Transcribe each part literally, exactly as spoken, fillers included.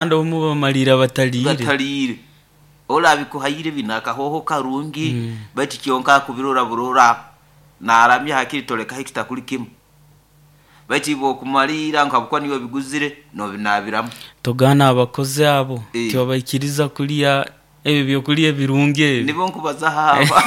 Kandi omu bamalira bataliire. Bataliire olabikuhaire bina akahoho karungi, baitu kyonka akubirora burora naramya hakiri tolekaho ekitakuli kimu, baitu iwe okumalira nkabukwa niwe obiguzire nobinabiramu. Togaana abakozi abo Eh. tibabaikiriza kulya ebyo ebyokulya ebirungi ebyo. Nibo nkubazaho aba.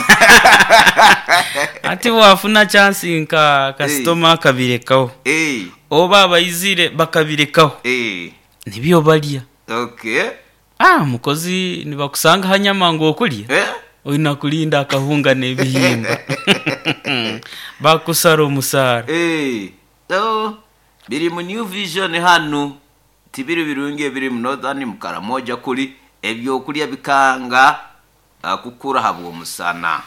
Ati bwafuna chansi nka kasitoma akabirekawo Eh, oba abaizire bakabirekawo eh, nibyo balya. okay. Ah, mukozi nibakusanga hanyama ngu okulya Eh? olina kulinda akahunga n'ebihimba bakusara omusaara. Eh, so biri mu New Vision hanu tibiri birungi ebiri mu Northern mu Karamoja kuli ebyokulya bikanga ah, kukura habw'omusana.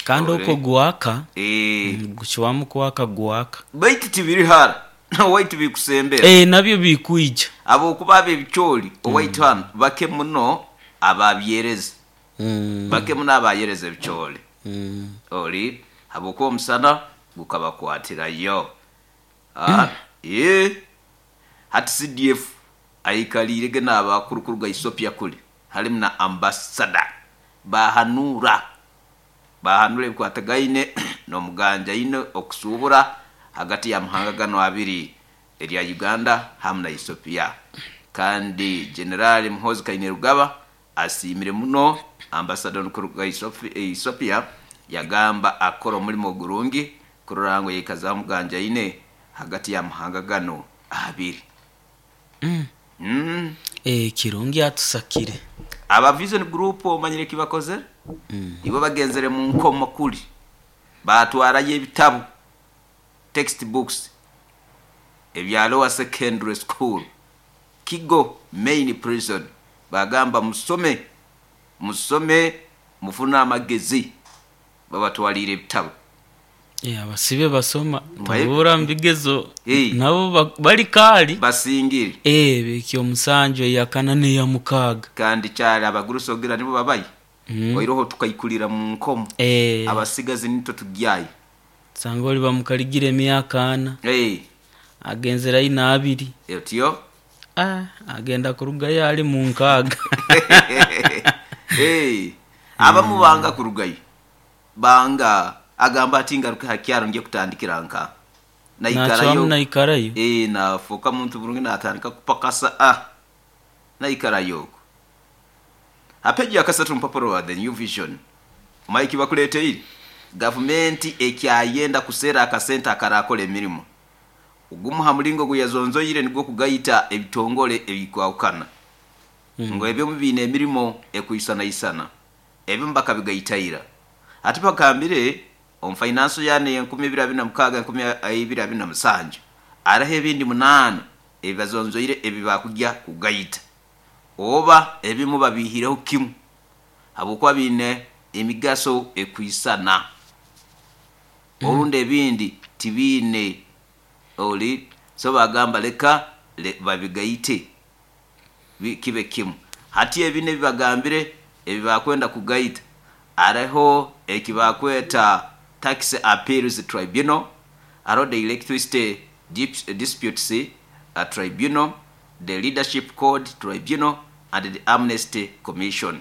Kandi Ole. okwo gwaka Eh, gukiwamu kwaka gwaka. baitu tibiri hara owaitu bikusembera. Eh, nabyo bikwija. Abokuba ab'ebicooli owaitu hanu bake muno ababyereza, Mm, bake muno abayereza ebicooli mm. oli habwokuba omusana gukabakwatirayo. Ah, eh, hati C D F aikaliirege n'abakuru ga Ethiopia kuli halimu na ambasada bahanura bahanura ebikwatagaine n'omuganja ine okusuubura hagati ya mahanga gano abiri erya Uganda hamu na Ethiopia. Kandi General Muhoozi Kainerugaba asiimire muno ambasada kuruga Ethiopia, yagamba akora omulimo gurungi kurora ngu yaikazaho omuganja ine hagati ya mahanga gano abiri. Mm. Mm. Eh, kirungi atusakire. Aba Vision Group omanyire kibakoze? Mm. Ibo bagenzere mu nkomo kuli batwarayo ebitabu, textbooks ebya lower secondary school Kigo main prison, bagamba musome musome mufune amagezi, babatwalire ebitabu. Eh, abasibe basoma Mbaye- tabura mu bigezo Eh. nabo ba- bali kaali basingire. Eh, bekyo omusanju eyakana neya mukaaga. Kandi kyali abagurusogira nibo babayi Mm. oiroho tukaikulira mu nkomo. Eh, abasigazi nitwe tugyayo. sanga oli bamukaligira emyaka ana Eh, agenzerayo n'abiri. Otyo. Ah, agenda kurugayo ali mu nkaaga. Eh, abamu banga kurugayo, banga agamba ati ngaruke hakyaro ngiye kutandikira nka nakyamu naikarayo. naikarayo. Eh, nafuuka muntu burungi natandika kupakasa, ah, naikarayo okwo. Apeji yakasatu mpapuro wa The New Vision maiki bakuleteire gavumenti ekyayenda kuseera akasente akarakola emirimu ogumu ha mulingo guyazonzoire nigwo kugayita ebitongole ebikwawukana Mm. ngo ebyomu biine emirimu ekwisanaisana ebimu bakabigayitaira. Ati bagambire omu finance yane enkumi ibiri abiri na mukaaga enkumi ibiri abiri na musanju araho ebindi munaana ebibazonzoire ebibakujya kugayita oba ebimu babihireho kimu habwokuba biine emigaso ekwisana, orundi ebindi tibiine oli, so bagamba leka le, babigayite bi- kibe kimu. Hati ebi ebibagambire ebibakwenda kugayita ariho ekibakweta Tax Appeals Tribunal, hariho the Electricity Dip- Disputes uh, Tribunal, the Leadership Code Tribunal and the Amnesty Commission.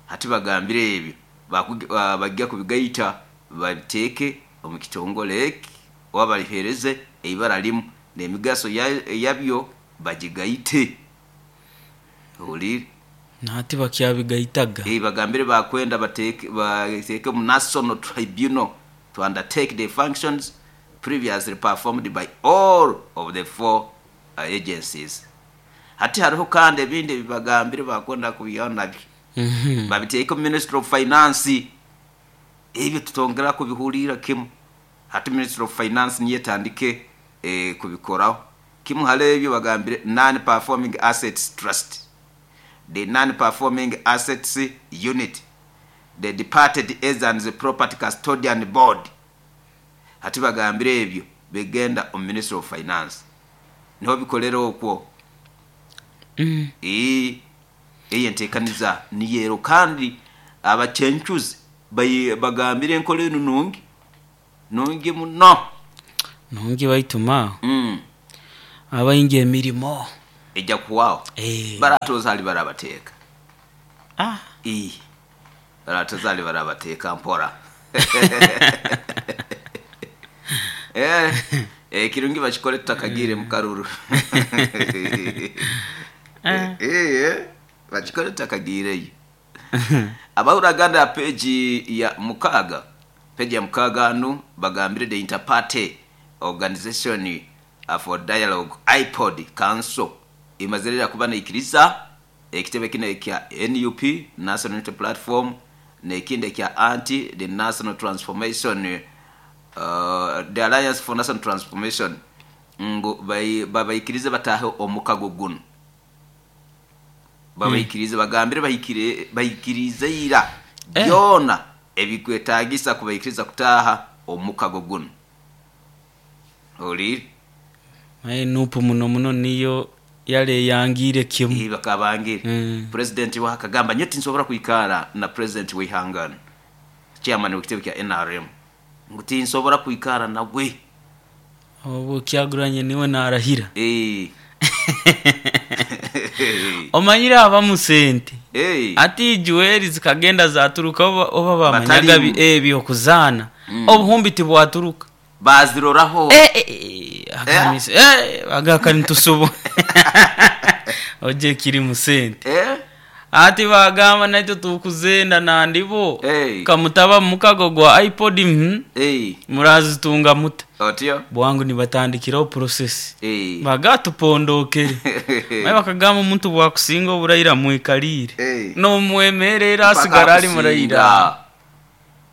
Hati bagambire ebyo bakugi- uh, bajja kubigayita babiteeke omu kitongole eki oba balihereze eibara limu n'emigaso ya- yabyo bagigayite oli. Nati bakyabigayitaga. Eh, bagambire bakwenda bateeke bateeke mu National Tribunal to undertake the functions previously performed by all of the four uh, agencies. Hati hariho kandi ebindi ebibagambire bakwenda kubihaho nabyo Mhm. babiteeke mu Ministry of Finance, ebyo tutongera kubihurira kimu. Hati Ministry of Finance niyo etandike eh, kubikoraho kimu. Hali ebyo bagambire Non Performing Assets Trust, the Non Performing Assets Unit, the Departed Agents Property Custodian Board. Hati bagambire ebyo bigenda omu Ministry of Finance niho bikolera okwo. Mm. Ee, eyo enteekaniza niyero kandi abakyencuzi bayi- bagambire enkola enu nungi nungi muno. Nungi baituma Mm. abaingi emirimo. Ejja kuhwaho. Eh. Baratoza ali barabateeka. Ah. Ii. Baratoza ali barabateeka mpora. Eh, eh, kirungi bakikole tutakagire mu karuru. Eh. Eh, bakikole tutakagireyo. Abahuraganda peji ya mukaga, peji ya mukaga anu bagambire the interparty organization for dialogue iPod council imazirira kuba neikiriza ekitebe kino ekya N U P National Unity Platform nekindi ekya anti the National Transformation, uh, the Alliance for National Transformation ngu babaikirize batahe omukago guno. Babaikirize bagambire bahikire bahikirize ira Eh. byona ebikwetagisa kubaikiriza kutaha omukago guno. Oli Maye nupu muno muno niyo yale yangire kimu. Iba kabangire. Mm. President wa akagamba nyeti nsobora kuikara na president w'ihangano. Chairman w'ekitebe kya N R M. Nguti nsobora kuikara nawe. Obu kyaguranye niwe narahira. Eh. Omanyire abamu sente. Eh. Ati juweri zikagenda zaturuka oba, oba bamanyaga Batalimu. bi-, eh, byokuzana. Mm. Obuhumbi tibwaturuka. Baziroraho. Eh, eh, eh, akamisi. Eh, agaka nitusubu. Oje kiri mu sente. Eh? Ati bagamba naito tukuzenda nandibo. Hey. Kamutaba mukago gwa iPod, mm. Hey. Murazitunga muta. Otyo. Bwangu nibatandikiraho process. Hey. Bagatupondokere. Maye bakagamba omuntu bwakusinga oburayira mwikalire. Hey. No mwemerera Mpaka asigara ari akusinga. murayira.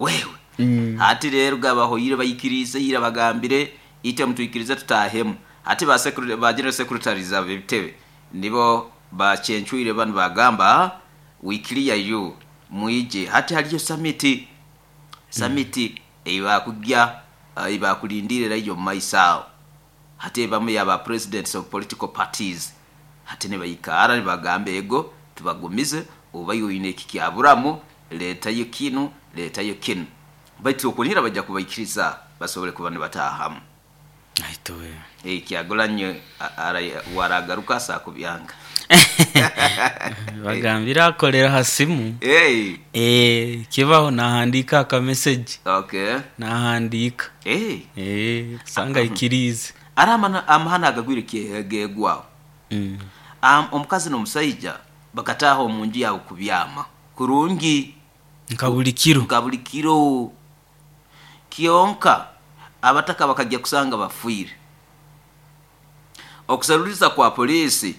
Wewe. Mm. Ati rero gabahoyire bayikirize yira bagambire ite mutwikirize tutahemu. Ati ba secretary ba general secretaries abitebe nibo bacencuire banu bagamba we clear you muije. Hati haliyo summit summit mm. eba kujya eba kulindire iyo maisao. Hati bamwe yaba presidents of political parties hati ne bayikara bagambe ego tubagumize uba yoyine kikyaburamu leta yo kinu leta yo kinu baitu okunira bajja kubaikiriza basobole kuba ne batahamu. Aitowe. Eh, kyagulanye waragaruka sa kubyanga. Bagambira akolera hasimu. Eh. Eh, kibaho nahandika aka message. Okay. Nahandika. Eh. Eh, sanga ikirize. Aramana amahana agagwire kegegwa. Mm. Am omukazi n'omusajja bakataho mu nju yawo kubyama. Kurungi nkabulikiro. Nkabulikiro. Kionka abataka bakajya kusanga bafuire. Okusaruliza kwa polisi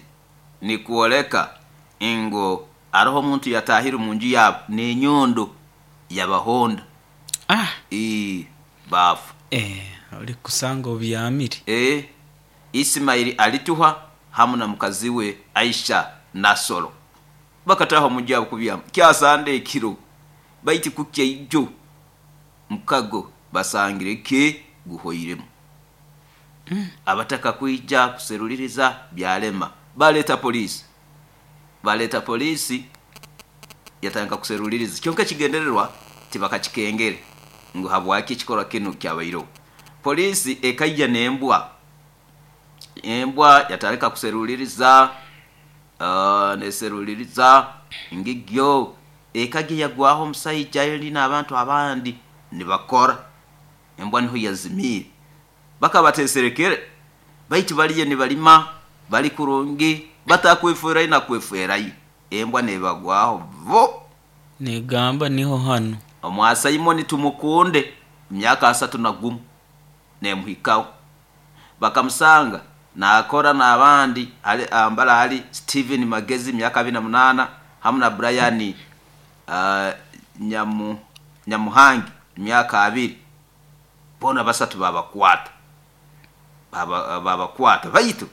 ni kuoleka ingo aroho muntu yatahiru mu nju yabo n'enyondo yabahonda. Ah. E bafu. Eh, uri kusanga obyamire. Eh, Ismaili alituha hamu na mukazi we Aisha Nasolo. Bakataho mu nju yabo kubyama. Kyasande ekiro. Baiti kukya ijo. Mukago basangire ke guhoiremu. Mm. Abataka kuija kuseruliriza byalema. Baleta polisi. Baleta polisi yatanga kuseruliriza. Kyonka kigendererwa tibakakikengere ngo habwaki kikora kinu kyabairo. Polisi ekajja nembwa. Embwa yatareka kuseruliriza, uh, neseruliriza ngigyo ekajja yagwaho omusajja yali n'abantu abandi nibakora. Embwa niho yazimire. Bakabateserekere baitu baliye nibalima bali kurungi batakwefera na kweferayo. Embwa nebagwaho vo negamba niho hano. Omwasa Simoni tumukunde myaka asatu na gumu nemuhikaho. Bakamusanga nakora n'abandi ali ambala ali Steven Magezi myaka abiri na munana hamwe na Brian, uh, Nyamu, Nyamuhangi myaka abiri. Bona basatu babakwata. Baba, babakwata baitu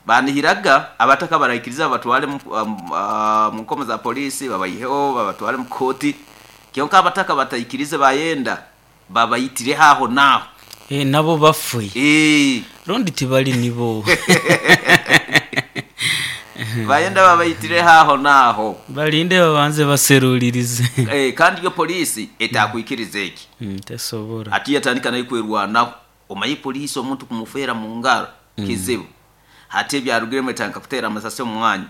banihiraga abataka baraikiriza batwale mu, um, uh, mu nkomo za polisi babayiheho babatwale mu koti. Kyonka abataka batayikirize bayenda babayitire haho naho. Eh, nabo bafuye. Eh. Rondi tibali nibo. Bayenda babayitire haho naho. Balinde babanze baserulirize. Eh, kandi yo polisi etakwikirize iki. Mm, tesobora. Ati yatandika nayo kwerwanaho. Omayi polisi omuntu kumufera mu ngaro Mm. kizibu. Hati ebyarugiremu etandika kuteera amasasi omu mwanya.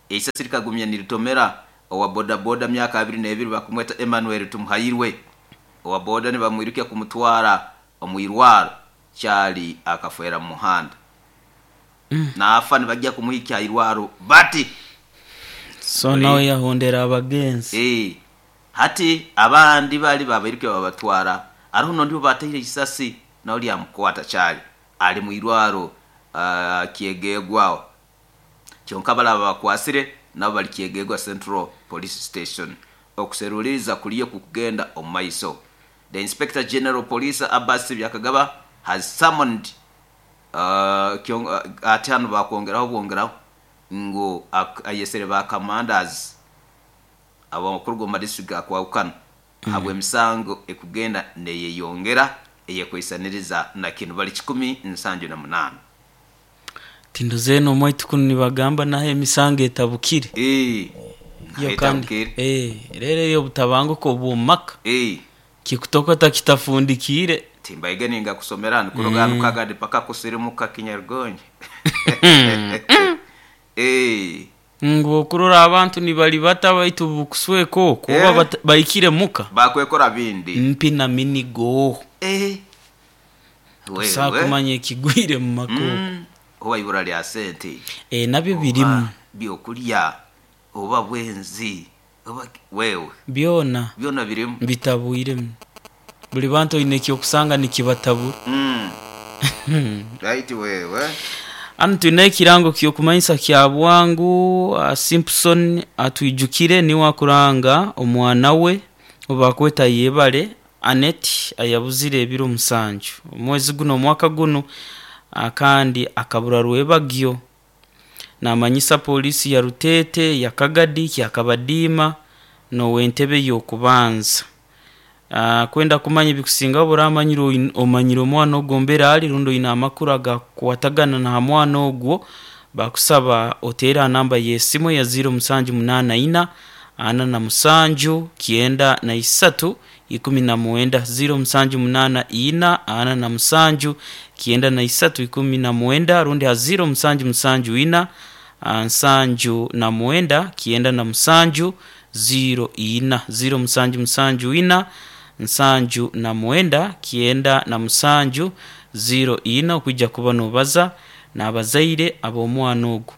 Eisasi likagumya niritomera owa bodaboda myaka abiri n'ebiri bakumweta Emmanuel Tumuhairwe. Owa boda nibamwirukya kumutwara omu irwaro, kyali akafeera mu muhanda. Mm. Naafa nibajja kumuhikya ha irwaro bati. So nawe yahondera abagenzi. Eh, hati abandi bali babairukya babatwara, ariho nondi bataire isasi nawe lyamukwata kyali ali mu irwaro uh, Kyegegwaho. Kyonka balaba bakwasire nabo bali Kyegegwa Central Police Station. Okuseruliriza kuliyo kukugenda omu maiso. The Inspector General Police Abbas Byakagaba has summoned uh, kyong- uh, ati hano bakwongeraho bwongeraho ngu ak- ayesere ba commanders abakuru mu district gakwawukana habw'emisango ekugenda neyeyongera eyekwisaniriza na kinu bali kikumi nsanju na munaana. Tindo zeno omwaitu kunu nibagamba naho emisango etabukire. Eh, Yo kandi etabukire. eh rero eyo obutabanguko bw'omumaka Eh, kikutokota kitafundikire. Timbaige ninga kusomera nikuroga mm. Kagadi paka kusirimuka kinyarugonje. Eh, ngu okurora abantu nibalibata baitu bukusweka okwo Eh. oba bata- bahikire muka bakwekora bindi. Mpi na minigo. Eh. Tosobola Wewe. kumanya ekigwire mu maka okwo. Mm. Oba ibura lya sente. Eh, nabyo birimu. Oba byokulya oba bwenzi oba wewe. Byona. Byona birimu. Bitabwiremu buli bantu oine ekyokusanga nikibatabura. Mm. Right wewe. Hano tulina ekirango kyokumanyisa kya bwangu. uh, Simpson atwijukire niwe akuranga omwana we obakweta Yebale Anet ayabuzire ebiro musanju omwezi guno omwaka guno, uh, kandi akabura rwebagyo. Namanyisa polisi ya Rutete, ya Kagadi, Kyakabadiima n'owentebe y'okubanza. Uh, kwenda kumanya ebikusingaho buramanyire oin- omanyire omwana ogwo mbere ali rundi oine amakuru agakukwatagana na mwana ogwo, bakusaba oteere aha namba y'esimu ya ziro musanju munaana ina ana na musanju kyenda na isatu ikumi na mwenda, ziro musanju munaana ina ana na musanju kyenda na isatu ikumi na mwenda, rundi ha ziro musanju musanju ina ah, nsanju na mwenda kyenda na musanju ziro ina, ziro musanju musanju ina nsanju na mwenda kyenda na musanju ziro ina, okwijja kuba nobaza n'abazaire ab'omwana ogwo.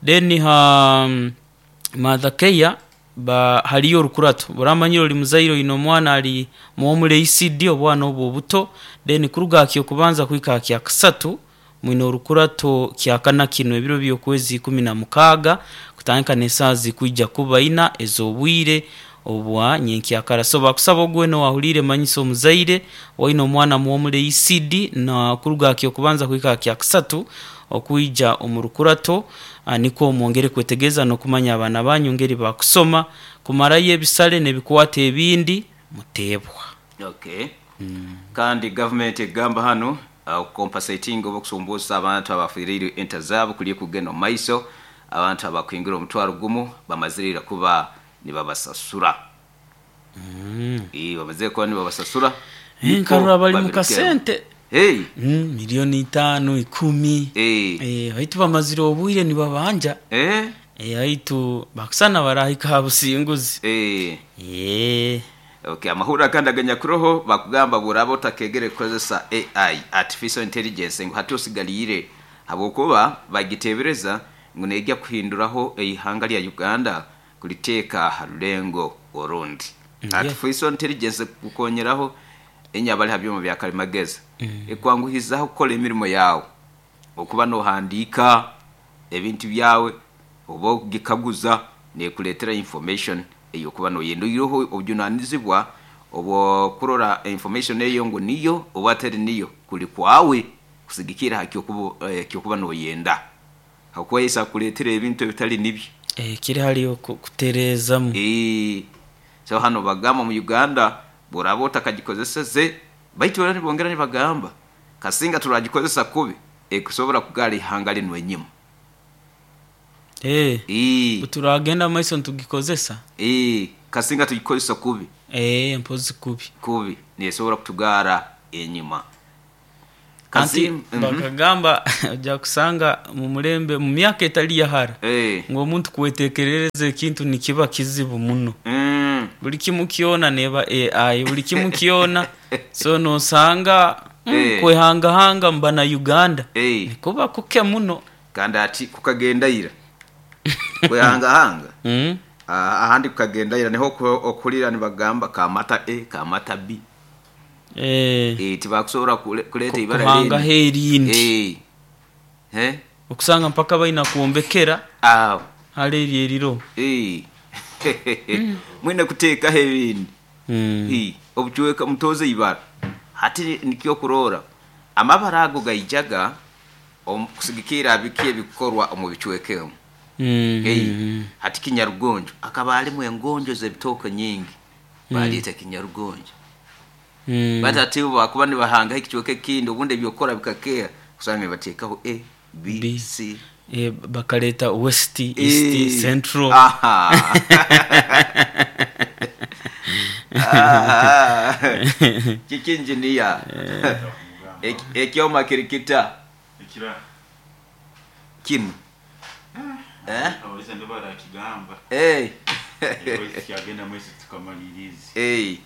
Then ha Mother Care ba haliyo orukurato buramanyire oli muzaire oine omwana ali muwomule E C D obwana obwo obuto, then kuruga aha kyokubanza kuhika aha kyakasatu mwine orukurato kyakana kino ebiro by'okwezi ikumi na mukaaga kutandika n'esaaha zikwija kuba ina ez'obwire obwa nyenkyakara. So bakusaba ogwena owahuriire manyisa omuzaire oine omwana muwomule E C D na kuruga aha kyokubanza kuhika aha kyakasatu okwija omu rukurato, ah, nikwo mwongere kwetegereza n'okumanya abaana banyu ngeri bakusoma kumarayo ebisale n'ebikwata ebindi muteebwa. Okay. Kandi government egamba hano uh, compensating oba okusumbuusa abantu abafiiriire ente zaabo kuliyo kugenda omu maiso. Abantu abakwingira omutwaro gumu bamazirira kuba nibabasasura. Mm. Eh, bamazire kuba nibabasasura. Eh, nkarora bali mu kasente. Hey. Mm, miliyoni itaano ikumi. Eh. Eh, baitu bamazire obwire nibabanja. Eh. Eh, baitu bakusana barahika ha businguzi. Eh. Eh. Okay, amahuriro agandi aganyakuroho bakugamba buraba otakegere kukozesa A I, artificial intelligence, ngu hati osigaliire habwokuba bagitebereza ngu nejja kuhinduraho eihanga lya Uganda kuliteeka ha rulengo orundi. Mm, Artificial intelligence kukonyeraho enyabali ha byoma bya kalimagezi, ekwanguhizaho kukora emirimo yawe, okuba nohandiika ebintu byawe oba okugikaguza nekuleetera information eyokuba noyenda. Oiroho obujunanizibwa obwokurora information eyo ngu niyo oba atari niyo kuli kwawe kusigikira ha kyokuba, eh, kyokuba noyenda, hakuba yesa akuleetera ebintu ebitali nibyo. Eh, kiri haliyo ku- kutereezamu. Eh, so hano bagamba mu Uganda boraba otakagikozeseze, baitu era nibongera nibagamba kasinga turagikozesa kubi ekusobora kugara ihanga linu enyima. Eh. Eh, Turagenda maiso nitugikozesa. Eh, kasinga tugikozesa kubi. Eh, mpozi kubi. Kubi nesobora kutugara enyuma. Anti Kazim- Mhm. bakagamba ojja kusanga mu mulembe mu myaka etali yahara Eh. ng'omuntu kwetekerereza ekintu nikiba kizibu muno. Mm. Buli kimu kyona neba A I, buli kimu kyona, so nosanga mm, Eh. kwehangahanga mbana Uganda Eh. nikuba kuke muno. Kandi ati kukagendaira kwehangahanga. Mm. Ah, ahandi kukagendaira niho oku- okulira nibagamba kamata A kamata B. Eh, Eh, tibakusobola kule- kuleta ibara kuhangaho erindi. Eh. Eh? Okusanga mpaka baina kuombekera Awo. hali eri eriro. Eh. Mwine kuteekaho ebindi. Mm. Eh, obucweka mutoze ibara. Hati nikyo kurora amabara ago gaijaga omu- kusigikira biki ebikorwa omu bicwekemu. Mm. Hey, hati kinyarugonjo akaba alimu engonjo z'ebitooke nyingi, baleeta kinyarugonjo. Mm. Batati bakuba nibahanga ekicweka ekindi, obundi ebyokora bikakeera kusanga nibateekaho A B, B. C. Eh, bakaleta west, east, Eh. central. Aha. Aha. Kiki engineer? Ek- ekyoma kirikita Ekira. kinu. Eh? Abaliza ndo barakigamba. Eh. Ewezi kyagenda mwezi tukamaliriza. Eh.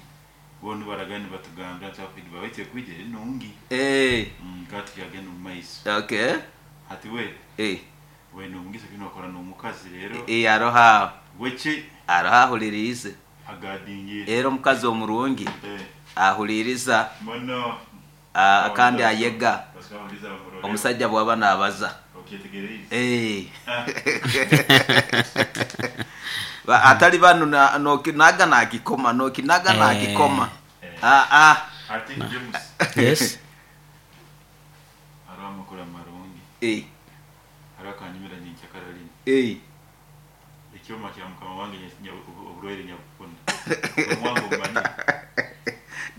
Bono baragani batugambira nti babaite kwijera enungi. Eh. Mm, kati kyagenda mu maiso. Okay. Hati we Eh. we nomugisa kino akora n'omukazi rero. Eh, aroha. Weki Aroha ahulirize. agadingira. Era omukazi omurungi Eh. ahuliriza. Mono. Ah, kandi ayega. Basawuliza bamurore. Omusajja bw'aba n'abaza. Okyetegereza. Eh. Ah. Ba- atali bano na- nokinaga nakikoma, nokinaga Eh. nakikoma. Eh. Ah, ah. Ati James. Yes. Hariho amakuru amarungi. Eh. Hariho akanyumira nyenkyakara Eh. ekyoma kya mukama wange nya- nya- oburwaire nyabukuna. Omwangu omanyi.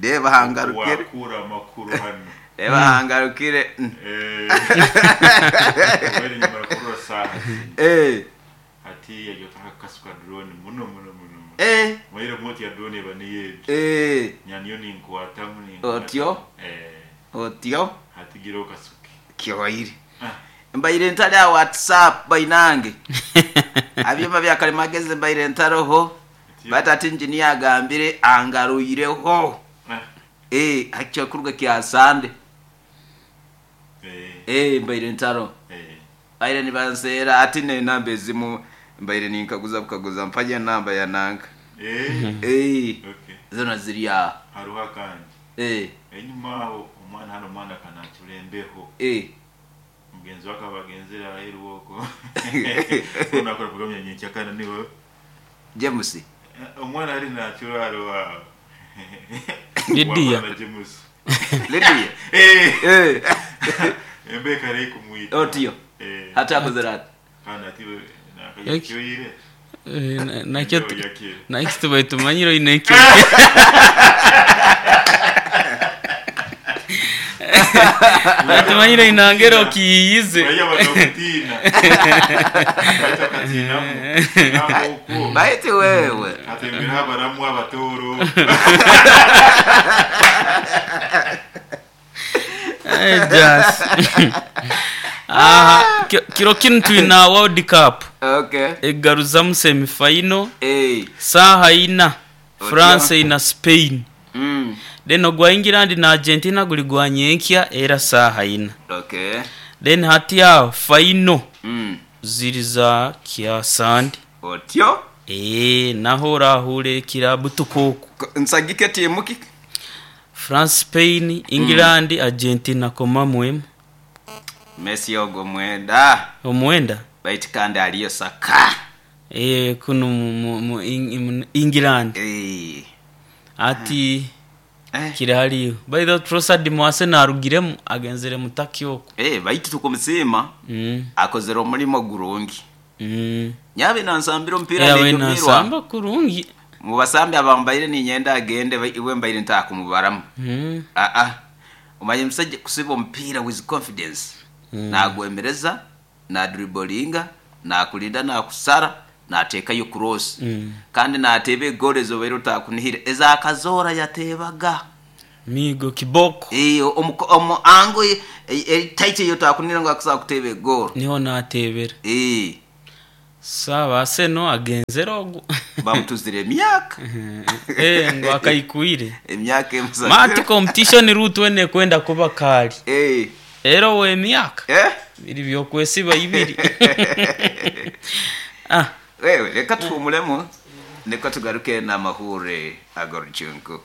Reba hangarukire. Wakura amakuru hano. Reba hangarukire. Mm. Eh. Oburwaire nyamara kurura saha zino. Eh. Hati yagyotaka kasuka drone muno muno muno. muno. Eh. Mwaire moti ya drone eba niyejo. Eh. Nyaniyo ninkwatamu ninkwatamu. Otyo? Eh. Otyo Hati gira okasuke. kyoire. Ah. Mbaire ntali a WhatsApp bainange. Abyoma bya kalimagezi mbaire ntaroho. Batati engineer agambire angaruireho. Ah. Eh, hakyakuruga kya Sande. Eh. Eh, mbaire ntaro. Eh. Baire nibanseera ati nenamba ezimu mbaire ninkaguza bukaguza mpaje namba ya nanka. Eh. Eh, Okay. zona ziri aho. Hariho akandi. Eh, Enyuma aho omwana hano omwana akanakira embeho. eh. Mugenzi wake abagenzera aheru woko. Unakora programu ya nyenkyakara niwe. James. Omwana ali nakira alo awo. Lydia. Wamala James. Lydia. Eh. Eh. Embeka rei kumwita. Otyo. Eh. Hata akozera ati. Kana ati Eki. nakayikyoyire. Eh, na- nakyo Embeho yakira. nakyo tubaye tumanyire oine ekyo. Tumanyire inangero okiyize. Baiya bakakutina. Bakatinamu. Nako Baiti wewe. Atembera abaramu abatoro. Eh, jas. Aha, ki- kiro kinu twina World Cup Okay. egaruzamu semifinal Eh. saha ina Otyo. France ina Spain. Mm. Then ogwa England na Argentina guli gwa nyenkya era saha ina. Okay. Then hati aho final Mm. ziri za kya Sande. Otyo. Eh, naho orahure kirabu tukoku. Ko- Nsagike timu ki? France, Spain, England, Argentina koma mwemu. Messi ogwo mwenda. Omwenda. Baiti kandi aliyo saka. Eh, kuno mu, mu, mu, Eng- mu England. Eh. Ati Eh. kiri hariyo. By the way, Trossard mu Arsenal arugiremu agenzere mu Turkey okwo. Eh, baiti tukumusima. Mm. Akozera omulimo gurungi. Mm. Nyabe nansambira omupiira Yawe nenyumirwa. nasamba kurungi. Mu basambi abambaire ninyenda agende ba- iwe mbaire ntakumubaramu. Mm. Ah ah. Omanye musajja kusiba omupiira with confidence. Mm. Nagwemereza, nadribolinga, nakulinda, nakusara, nateekayo cross. Mm. Kandi nateeba eggoolo ezobaire otakunihira ezakazoora yateebaga. Migo kiboko. Eh, omu omu ango etaite eyo takunira ngo akusobola kuteeba egoolo. Niho nateebera. Eh, sawa Arsenal agenzere ogu. Bamutuzire emyaka. Eh, ngo akaikwire. Emyaka emusatu. Mati competition route wene kwenda kuba kali. Eh, era wemyaka eh biri byokwesiba ibiri. Ah. Wewe reka tuhumulemu niko tugaruke n'amahure ag'orucunku.